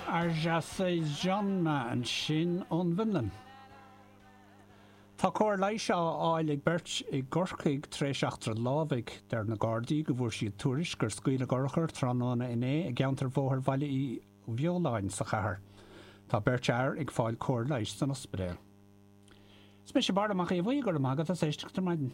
Arja Saijonmaa ansin ón bhFionlainn. Tá cóir leighis á fháil ag beirt i gCorcaigh tar éis eachtra lámhaigh. Deir na Gardaí go bhfuair siad tuairisc gur scaoileadh urchar tráthnóna inné i gceantar Bhóthar Bhaile Uí Bheoláin sa chathair. Tá beirt fhear ag fáil cóir leighis san ospidéal. Is mise Barra Mac Aodha Bhuí, go raibh maith agat as éisteacht ar maidin.